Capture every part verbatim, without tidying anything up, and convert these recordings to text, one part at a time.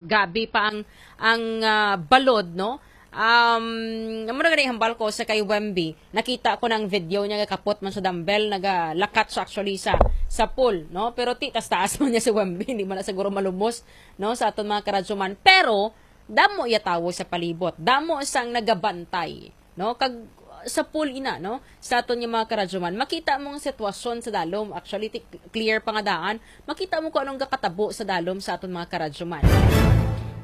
Gabi pa ang, ang, ah, balod, no? Um, amo na gani hambal ko sa kay Wemby. Nakita ko ng video niya, kapot man sa dumbbell, nagalakat siya actually sa, sa pool, no? Pero ti, taas-taas man niya si Wemby, hindi man na siguro malumos, no, sa aton mga karadyoman. Pero, damo iya tawo sa palibot, damo sang nagabantay, no? Kag sa pool ina, no? Sa aton nga mga karadyoman, makita mo ang sitwasyon sa dalom. Actually, ti-, clear pa nga daan. Makita mo kung anong gakatabo sa dalom sa aton mga karadyoman.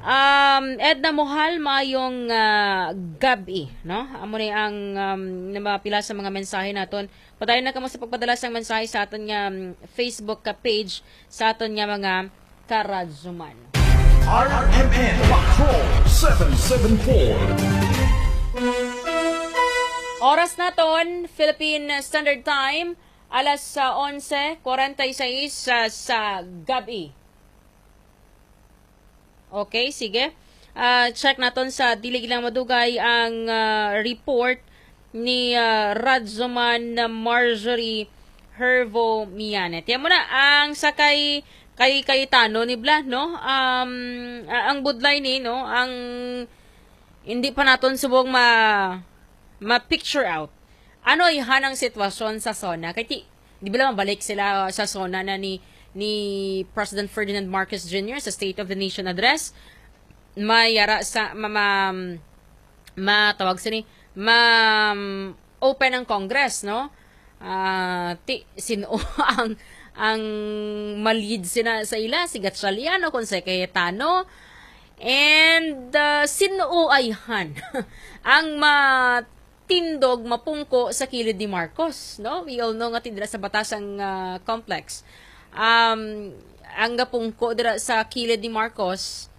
Um, Edna Mohal, mayong, ah, gabi, no? Amo ni ang, um, na mga pila sa mga mensahe naton. Padayon na kamo sa pagpadala sang mensahe sa aton nga, um, Facebook ka page, sa aton nga mga karadyoman. R M N Patrol seven seven four. Oras naton, Philippine Standard Time, alas, ah, onse kwarenta y seis, ah, sa gabi. Okay, sige. Ah, check naton sa dili lang madugay ang, ah, report ni, ah, Radzoman Marjorie Hervo Mianet. Yan mo na ang sa kay, kay Cayetano ni Bla, no? Um, a-, ang budlay ni, no? Ang hindi pa naton subong ma, ma-picture out. Ano ayhan ang sitwasyon sa SONA? Kay ti, di ba lang mabalik sila sa SONA na ni, ni President Ferdinand Marcos Junior sa State of the Nation Address? May yara sa, ma, ma, matawag sini, ma, open ang Congress, no? Ah, ti, sino ang, ang ma-lead sina sa ila? Si Gatchalian o kon si Cayetano? And, ah, sino ayhan ang matindog, mapungko sa kilid ni Marcos, no? We all know nga ti dira sa Batasang, ah, Complex. Um, ang gapungko dira sa kilid ni Marcos,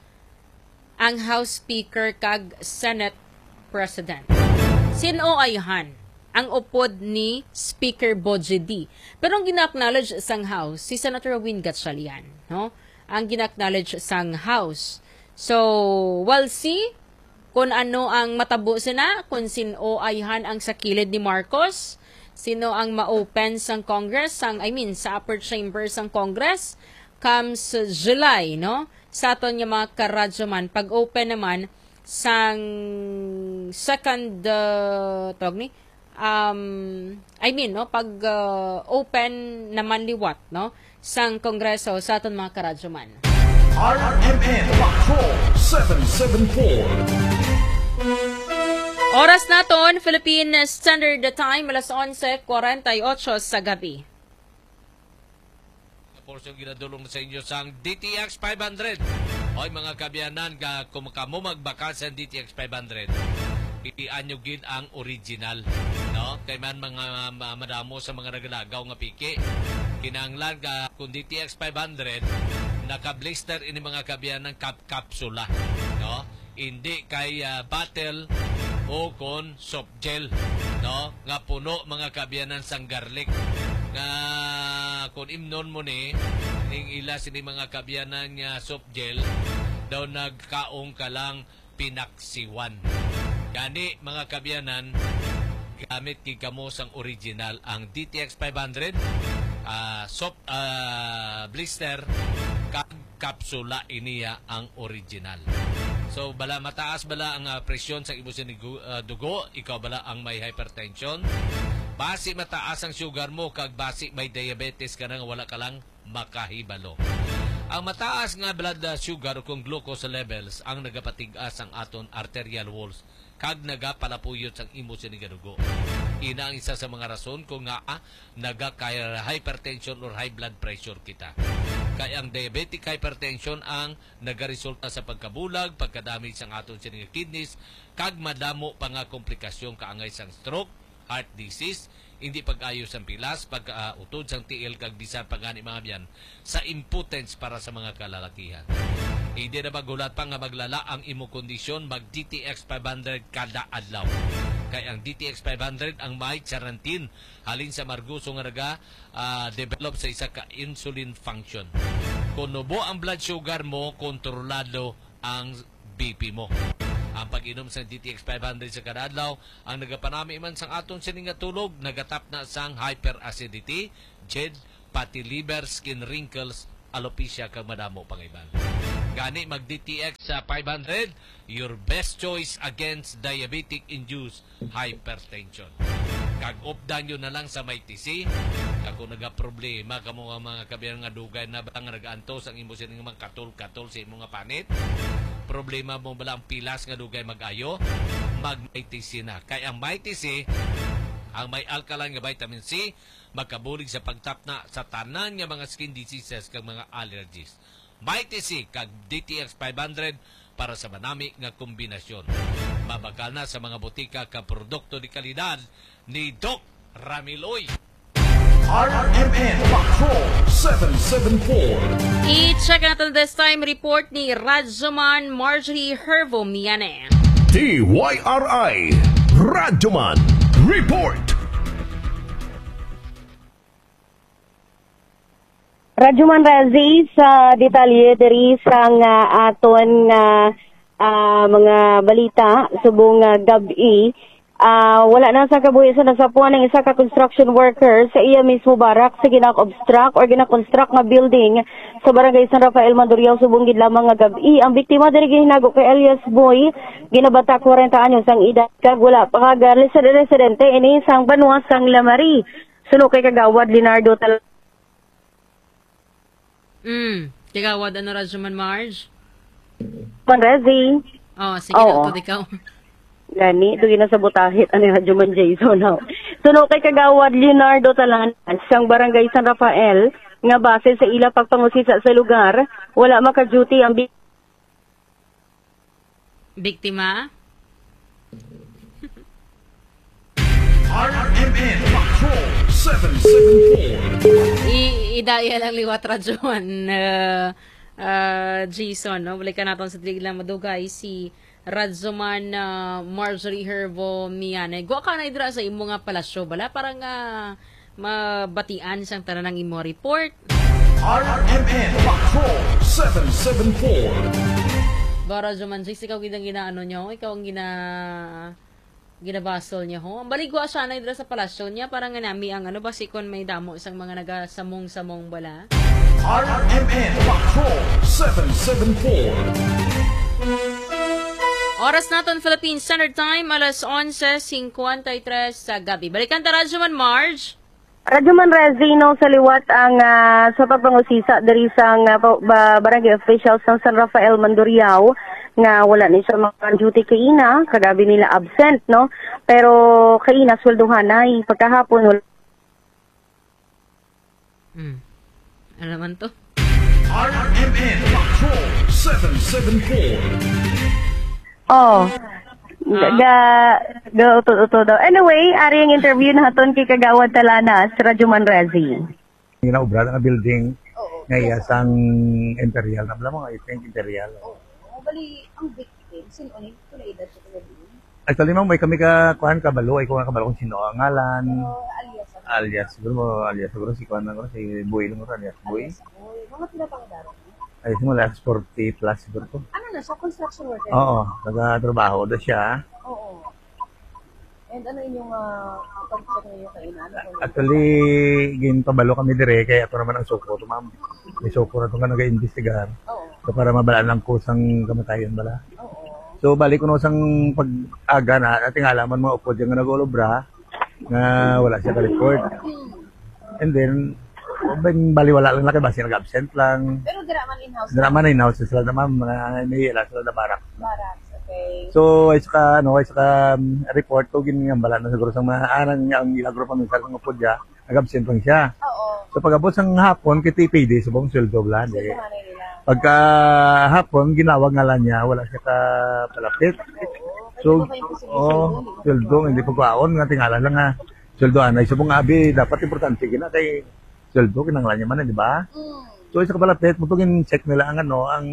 ang House Speaker kag Senate President. Sino ayhan ang upod ni Speaker Boji D? Pero ang gina-acknowledge sang House, si Senator Win Gatchalian, no? Ang gina-acknowledge sang House. So, we'll see kung ano ang matabo sina, kung sino ayhan ang sa kilid ni Marcos, sino ang ma-open sang Congress, sang, I mean, sa upper chamber sang Congress, comes July, no? Sa aton nga mga karadyoman, pag-open naman sang second, uh, tawag ni, um, I mean, no, pag, uh, open naman liwat, no, sang Kongreso sa aton mga karadyoman. R M N Patrol seven seven four. Oras naton, Philippine Standard Time, alas onse kwarenta y ocho sa gabi. Nga porsyon ginadulong sa inyo sang D T X five hundred. Oy, mga kaabyanan, ka, kung kamo magbakal sa D T X five hundred, pilian nyo gid ang original, no? Kay man mga ma-, madamo sa mga nagalagaw nga piki. Kinahanglan ka kung D T X five hundred, naka-blister ini, mga kaabyanan, kap-, kapsula, no? Hindi kay, ah, bottle o kon soft gel, no? Nga puno, mga kaabyanan, sang garlic. Nga kung imnon mo ni, ning ila sini, mga kaabyanan, nga soft gel, daw nagkaon ka lang pinaksiwan. Gani, mga kaabyanan, gamit gid kamo sang original, ang D T X five hundred, ah, soft, ah, blister, kag kapsula, iniya ang original. So, bala mataas bala ang, ah, presyon sa imo sini gu-, ah, dugo, ikaw bala ang may hypertension, basi mataas ang sugar mo, kag basi may diabetes ka na nga wala ka lang makahibalo. Ang mataas nga blood, ah, sugar o kung glucose levels ang nagapatig-as ang aton arterial walls kag nagapalapuyot sang imo sini nga dugo. Ina ang isa sa mga rason kung ngaa nagaka hypertension or high blood pressure kita. Kay ang diabetic hypertension ang nagaresulta sa pagkabulag, pagkadamage sang aton sini nga kidneys, kag madamo pa nga komplikasyon kaangay sang stroke, heart disease, hindi pag-ayo sang pilas, pagkautod sang tiil, kag bisan pa gani, mga abyan, sa impotence para sa mga kalalakihan. Hindi na maghulat pa nga maglala ang imo kondisyon, mag D T X five hundred kada adlaw. Kay ang D T X five hundred ang may charantin halin sa margoso nga naga, ah, develop sa isa ka insulin function. Kung nubo ang blood sugar mo, kontrolado ang B P mo. Ang pag-inom sa D T X five hundred sa kada adlaw ang nagapanami man sang aton sini nga tulog, nagatapna sang hyperacidity, jed, pati liver, skin wrinkles, alopecia, kag madamo pang iban. Gani mag D T X sa five hundred, your best choice against diabetic-induced hypertension. Kag updan yun na lang sa Mighty C. Kag kung nagaproblema ka mo nga mga kabiyan nga dugay na ba nga nag-antos ang imo sining mga katol-katol sa imo nga panit, problema mo bala ang pilas nga dugay mag-ayo, mag Mighty C na. Kay ang Mighty C, ang may alkaline nga vitamin C, makabulig sa pagtapna sa tanan nga mga skin diseases kag mga allergies. Mighty C kag D T X five hundred para sa manami nga kombinasyon. Mabakal na sa mga botika ka produkto de kalidad ni Doc Ramiloy. R M N Patrol seven seven four. I-check natin this time report ni Radyoman Marjorie Hervo Miane. D Y R I Radyoman Report. Radyoman Razi, sa detalye diri sang, ah, aton nga, ah, mga balita subong nga gab-i, ah, wala na sa kabuhi sa nasapuan ang isa ka construction worker sa iya mismo barak sa gina-obstruct or gina-construct nga building sa Barangay San Rafael, Mandurriao, subong gid lamang nga gab-i. Ang biktima diri gihinago kay alias Boy, ginabata kwarenta anyos ang edad, kag wala pa ka ga-, residente ini sang banwa sang Lamari. Suno kay Kagawad Leonardo Tal- Mm. Kagawad, ano, Radyoman Marge? Manrezi. Oh, sige, Oo. Daw, ikaw. Gani, ito ginasabotahit ani Radyoman Jason. Ho. Suno kay Kagawad Leonardo Talanas, sang Barangay San Rafael, nga base sa ila pagpangusisa sa lugar, wala maka-duty ang bi- Biktima? R M N Patrol seven seven four. I idaya lang liwat radyoman, uh, uh, Jason, no? Balikan naton sa dili lang madugay si Radyoman, uh, Marjorie Herbo Mianay. Gwa ka na idra sa imo nga palasyo, bala? Para nga mabatian sang tanan ang imo report. R M N Patrol seven seven four. Ba, Radyoman Jace, ikaw gid ang ginaano niyo, ikaw ang gina ginabasol niya, ho. Ang baligwa siya na dira sa palasyo niya, para nga nami ang ano, basi kon may damo sang mga nagasamong-samong bala. R M N Patrol seven seven four. Oras naton, Philippine Standard Time, alas onse cincuenta y tres sa gabi. Balikan ta, Radyoman Marge. Radyoman Rezino, sa liwat ang, ah, sa pagpangusisa diri sang, ah, pa-, ba-, barangay officials sang San Rafael, Mandurriao, nga wala ni siya maka-duty kaina, kagabi nila absent, no? Pero kaina, sweldohanay. Pagkahapon, wala. Hmm. Ano naman to? R M N Patrol seven seven four. Oh. Ah. Ga, ga, uto, uto daw. Anyway, ari ang interview naton kay Kagawad Talanas, Radyoman Rezi. Ginaobra na nga building Oo, nga iya yes. sang Imperial na bala mo, I think Imperial. Oo. Bali, ang victim, sin-o ni? Kung edad ko kagabi. Actually, ma'am, may kami ka, kuan, kabalo, ay ko nga kabalo kung sino ang ngalan. Pero alias, ano? Alias, siguro mo, alias, siguro si kuan lang, si Boy lang, alias Boy. Alias Boy. Mga pila pang edad? Ay, simula sa forty plus siguro to. Ano na siya? Construction worker? Oo, nagtatrabaho na siya. Oo. And ano inyong, ah, pag-check ninyo kay ina? Ano po yung Actually, ginpabalo kami dire kay ato naman ang suko to, ma'am. May suko na to nga nag-iimbestigar. Oo. So, para mabalaan lang ko sang kamatayon bala. Oo. So, balik ko no sang pag-aga na, ating alaman mga upod yung nag-ulobra nga wala siya ka-report. Hmm. And then, ben, baliwala lang na kay basi nag-absent lang. Pero dira man in-house. Dira man in-house sila na, ma'am. Mga, may ila sila na barracks. Barracks, okay. So, ay saka, ano, ay saka, um, report ko, ginambala na siguro sa mga, ah, nang, ang ila group ang minsan kung pudya, nag-absent lang siya. Oo. So, pag-abot sa hapon, kay T P D, subong sweldo bala, di. Sweldohanay nila. Pagka hapon, ginawag nga lang niya, wala siya ka palapit. Oo. So, oh, sweldo, hindi pagkaon, nga tingala lang, ha. Sweldo anay. So, kung abi, dapat importante gina kay sweldo, kinanglan niya man, di ba? Mm. So, isa ka pala, pet, mo gin-check nila ang ano, ang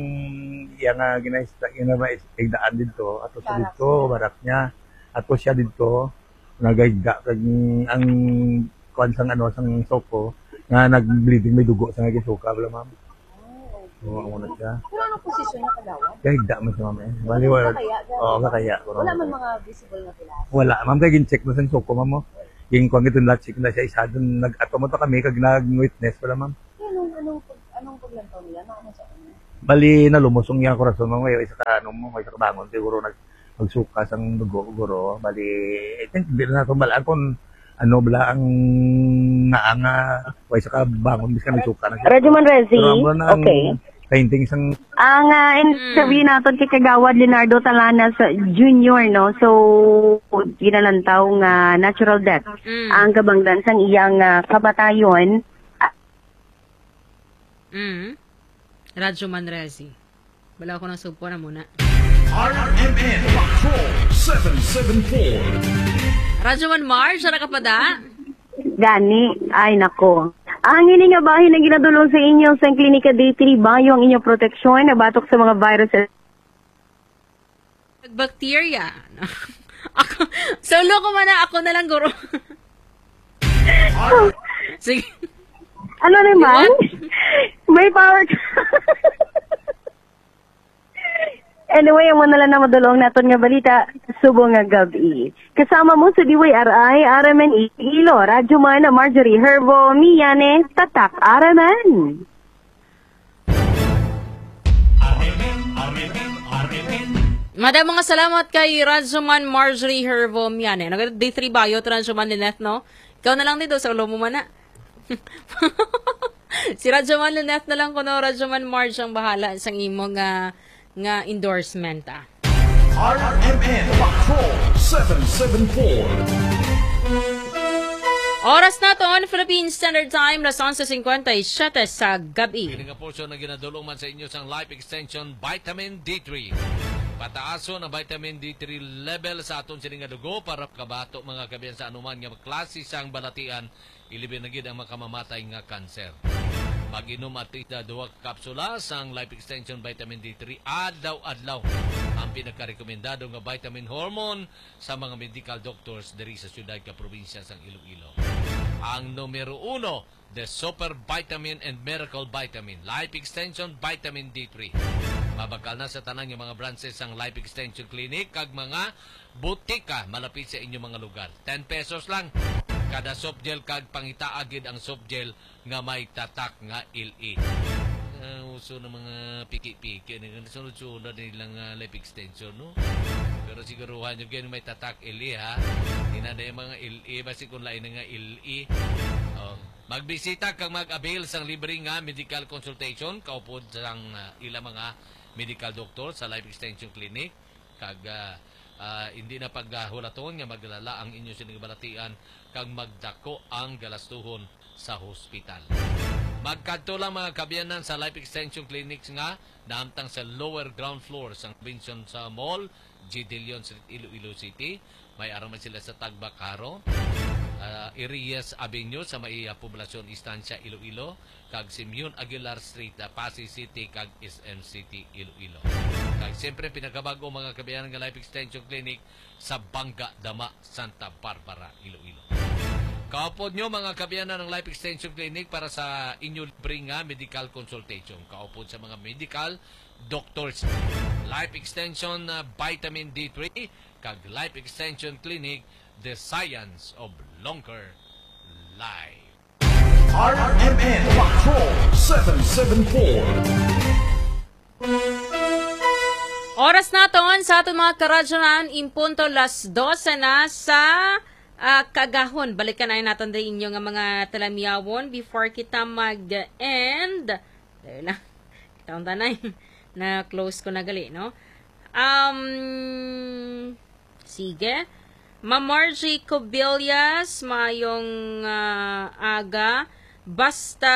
iya nga ginaista, iya nga igdaan dito, ato sa dito, barak niya, ato siya dito, nagayda, kag ang kuan sang ano, sang soko, nga nag-bleeding, may dugo sa nga gisuka, bala, ma'am. Ah, okay. Oo, amo na siya. Pero anong posisyon niya, kagawad? Kaya higda man siya, ma'am, eh. Bali, wala. Kakaya, gano'n. Oo, kakaya. Wala man mga visible na pilas? Wala, ma'am. Kaya gin-check na sa suko, ma'am, oh. Ging kuwan gito, na-check na siya. Isa dun, nag-ato mo to kami, kag nag-witness pala, ma'am. Kaya anong, anong, pag, anong paglantaw nila? Ano, ano sa ano? Bali, nalumos ang iyang korason, ma'am, kay isa ka, ano, ma'am, isa ka bangon, siguro nag-, magsuka sang dugo, guro. Bali, I think, di na nato balaan kung ano bala ang naanga, way sa kabangon, bisan nagsuka na siya. Radyo Man Rezi, Pero amo na ang okay. Painting sang Ang ah, interview Mm. naton kay Kagawad Leonardo Talanas Junior, no? So, ginalantaw nga natural death Mm. ang kabangdan sang iyang ah, kamatayon. Mm. Radyo Man Rezi. Wala ko nang sugpo na muna. R M N Patrol seven seven four. Radyo Man Marge, ara ka pa da? Gani, ay nako. Ang ini nga bahin ang ginadulong sa inyo sa Klinika D three Bayo ang inyong proteksyon na batok sa mga virus. Bacteria. Ako, solo ko man na, ako na lang, guro. Sige. Ano naman? What? May power ka. Anyway, ang mga lang na madulong naton nga balita, subong nga gabi. Kasama mo sa D Y R I, R M N Iloilo, Radyo Man, Marjorie Herbo, Miyane, Tatak, R M N. Madam, mga salamat kay Radyoman Marjorie Herbo Miane. Nag-, D three Bayot, Radyoman Lynette, no? Ikaw na lang dito, sa ulo mo man na. Si Radyoman Lynette na lang kuno, Radyoman Marge ang bahala sang imo nga, nga endorsement, ah. R M N Patrol seven seven four. Oras naton, Philippine Standard Time, las onse cincuenta y siete sa gabi. Kini nga portion na ginadulong man sa inyo sang Life Extension Vitamin D three. Pataason ang vitamin D three level sa aton sini nga dugo para makabato, mga kabiyan, sa anuman nga klase sang balatian, ilabi na gid ang makamamatay nga kanser. Mag-inom at least na duha ka kapsula sang Life Extension Vitamin D three adlaw-adlaw. Ang pinakarekomendado nga vitamin hormone sa mga medical doctors diri sa siyudad kag probinsya sang Iloilo. Ang numero uno, the Super Vitamin and Miracle Vitamin, Life Extension Vitamin D three. Mabakal na sa tanan nga mga branches sang Life Extension Clinic kag mga butika malapit sa inyong mga lugar. Ten pesos lang kada soft gel kag pangitaag gid ang soft gel nga may tatak nga L E. Ah, uso na mga piki-piki ni sunod-sunod nilang ah, life extension, no? Pero siguruhan nyo gid may tatak L E, ha? Ina na yung mga L E, basi kung lain na nga L E. Oh. Magbisita kag mag-avail sang libre nga medical consultation kaupod sang ah, ilang mga medical doctor sa Life Extension Clinic. Kag ah, ah, hindi na paghulaton nga maglala ang inyo sining balatian kag magdako ang galastuhon sa hospital. Magkadto lang, mga kaabyanan, sa Life Extension Clinics nga nahamtang sa lower ground floor sang Robinson sa Mall, G. Dillon Street, Iloilo City. May ara man sila sa Tagbakaro, ah, Irias Avenue sa may ah, Poblacion Estancia, Iloilo, kag Simeon Aguilar Street, ah, Passi City, kag S M City, Iloilo. Kag siyempre, pinakabag-o, mga kaabyanan, nga Life Extension Clinic sa Bangga Dama, Santa Barbara, Iloilo. Kaupod nyo, mga kaabyanan, ang Life Extension Clinic para sa inyo libre nga medical consultation. Kaupod sa mga medical doctors. Life Extension, ah, Vitamin D three, kag Life Extension Clinic, the science of longer life. R M N Patrol seven seven four. Oras naton sa aton mga karadyonan, in punto las dose na sa ah, kagahon. Balikan ay naton din inyo nga mga talamyawon before kita mag-end. Dali lang. Kita ang tanay. Na-close ko na gali, no? Um, sige. Ma'am Margie Cobillas, maayong ah, aga. Basta,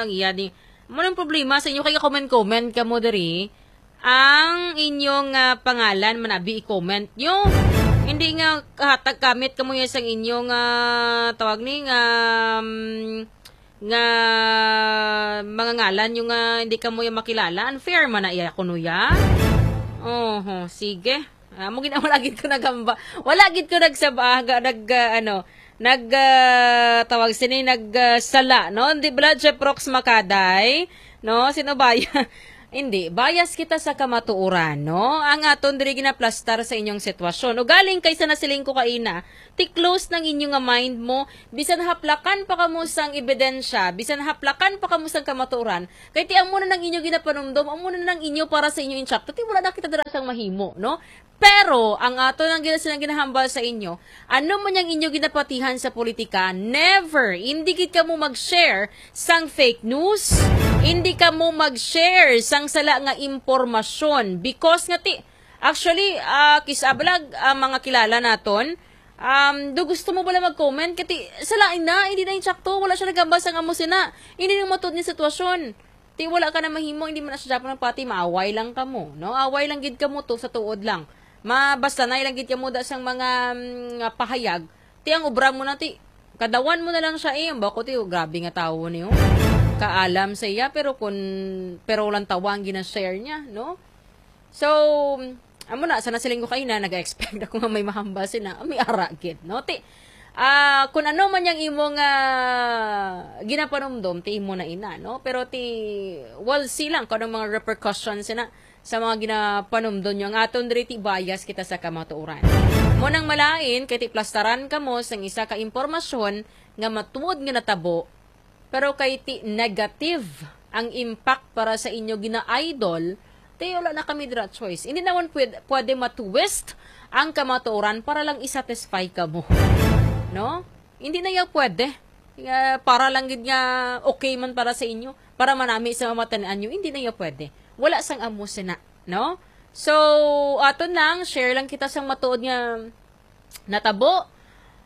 yan eh. Ano ang problema sa inyo? Kaya comment-comment ka mo diri. Ang inyong ah, pangalan, manabi i-comment nyo. Hindi nga kahatag kamit kamo yan sang inyong ah, tawag ni nga, um, nga mga ngalan nyo nga hindi kamo yung makilala. Unfair man na iya kuno ya. Oho, sige. Ah, mo gina-, wala gid ko nagamba. Wala gid ko nagsaba, ga-, nag, ah, ano, nag, ah, tawag sini, nag, ah, sala, no? Hindi bala, Jeff Rox Makaday, no? Sino ba yan? Hindi, bias kita sa kamatuoran, no? Ang aton diri ginaplastar sa inyong sitwasyon. O galing kay sa nasiling ko kaina, ti close nang inyo nga mind mo, bisan haplakan pa kamo sang ebidensya, bisan haplakan pa kamo sang kamatuoran, kay ti amo na nang inyo ginapanumdom, amo na nang inyo para sa inyo insakto, ti wala na kita dira sang mahimo, no? Pero ang ato nang gina-, silang ginahambal sa inyo, ano man yang inyo ginapatihan sa politika, never, hindi gid kamo mag-share sang fake news, hindi kamo mag-share sang sala nga impormasyon. Because nga ti, actually, ah, kis-, ah, balag, ah, mga kilala naton, um, do gusto mo bala mag-comment? Kati, sala na, hindi na yung sakto, wala siya nagambal sang amo sina. Hindi nang matuod ni sitwasyon. Ti wala ka na mahimo, hindi man na siya dapat nagpati, maaway lang kamo, no? Away lang gid kamo to sa tuod lang. Ma, basta na lang gid kamo da sang mga, mm, nga pahayag. Ti ang obra mo na ti, kadawan mo na lang siya eh. Ang bako ti, oh, grabe nga tawo niyo. Kaalam sa iya, pero kun, pero lang tawa ang gina-share niya, no? So, amo na, sa nasiling ko kaina, nag-expect ako nga may mahambal sina, may ara gid, no? Ti, ah, kung ano man yang imo nga ginapanumdom, ti imo na ina, no? Pero ti, we'll see lang kung anong mga repercussions sina sa mga ginapanumdom nyo. Ang aton diri, ti bias kita sa kamatuoran. Mo nang malain, kay ti plastaran kamo sang isa ka impormasyon nga matuod nga natabo, pero kay ti negative ang impact para sa inyo gina-idol, ti wala na kami dira choice. Hindi naman pwede, pwede matwist ang kamatuoran para lang i-satisfy ka mo. No? Hindi na yaw pwede. Nga, para lang gid nga okay man para sa inyo, para manami sa mga matan-an nyo, hindi na yaw pwede. Wala sang amo sina, no? So, aton lang, share lang kita sang matuod nga natabo,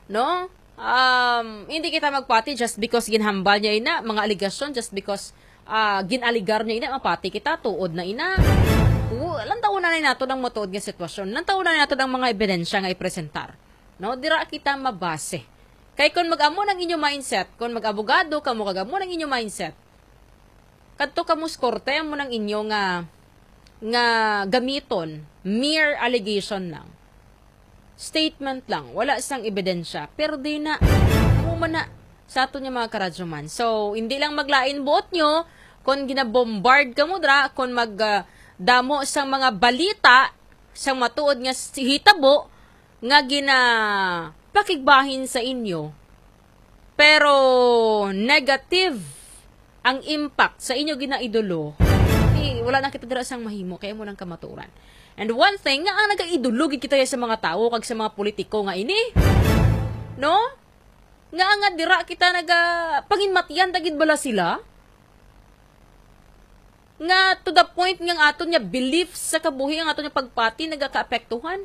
no? Um, hindi kita magpati just because ginhambal niya ina, mga aligasyon, just because, ah, ginaligar niya ina, mapati kita, tuod na ina. Oo, lantaw na nato ang matuod nga sitwasyon. Lantaw na nato ang mga ebidensya nga ipresentar. No? Dira kita mabase. Kay kung mag-amo ng inyo mindset, kung mag-abogado kamo, kag amo ng inyo mindset, kadto kamo sa korte, amo ng inyo nga, nga gamiton, mere allegation lang. Statement lang, wala sang ebidensya. Pero di na, amo man na, sa aton nga mga karadyoman. So, hindi lang maglain buot nyo, kung ginabombard kamo dra, kung mag, ah, damo sang mga balita, sang matuod nga s-, hitabo, nga ginapakigbahin sa inyo, pero negative ang impact sa inyo ginaidolo, eh, wala na kita dira sang mahimo, kay amo nang kamatuoran. And one thing, nga ang nagaidolo gid kita sa mga tawo kag sa mga politiko nga ini, no? Nga, nga dira kita naga-, panginmatian ta gid bala sila? Nga to the point nga ang aton nga belief sa kabuhi, ang aton nga pagpati nagakaapektuhan.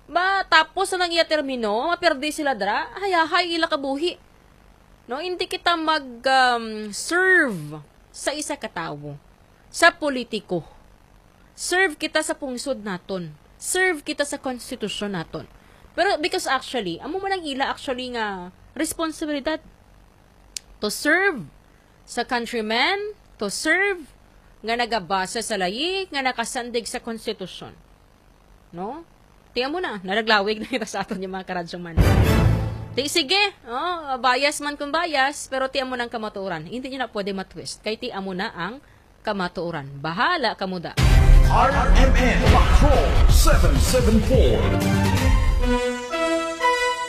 Ba, tapos na nang iya termino, maperdi sila dira, hayahay ila kabuhi. No, hindi kita mag, um, serve sa isa ka tawo, sa politiko. Serve kita sa pungsod naton. Serve kita sa konstitusyon naton. Pero because actually, amo man ang ila actually nga responsibilidad to serve sa countrymen, to serve nga nagabase sa layi, nga nakasandig sa konstitusyon. No? Ti amo na, nalaglawig na kita sa aton yung mga karadyoman. Ti sige, oh, bias man kung bias, pero ti amo nang kamatuoran. Hindi nyo na pwede matwist. Kay ti amo na ang kamatuoran. Bahala kamo da. R M N Patrol seven seven four.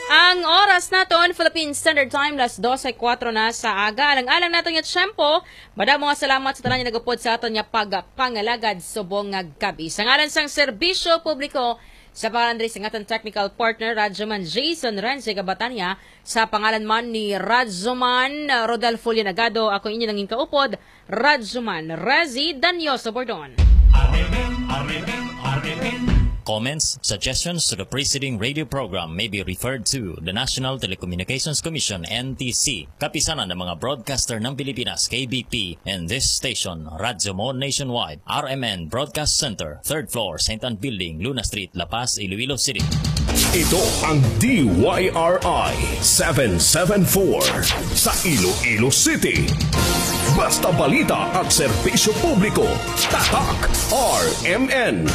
Ang oras naton, Philippine Standard Time, las dose kuwatro na sa aga. Alang-alang naton nga tiyempo, madamo nga salamat sa tanan nga nagupod sa aton nga pagpangalagad subong nga gabi. Sa ngalan sang serbisyo publiko, sa pangalan diri sa aton technical partner, Radyoman Jason Renzi Gabatania, sa pangalan man ni Radyoman Rodolfo Lianagado, ako inyo nangin kaupod, Radyoman Razi Danyoso Bordon. Comments, suggestions to the preceding radio program may be referred to the National Telecommunications Commission, N T C, Kapisanan ng mga Broadcaster ng Pilipinas, K B P, and this station, Radyo Mo Nationwide, R M N Broadcast Center, third floor, Saint Ann Building, Luna Street, La Paz, Iloilo City. Ito ang D Y R I seven seven four sa Iloilo City. Basta balita at serbisyo publiko, tatak R M N.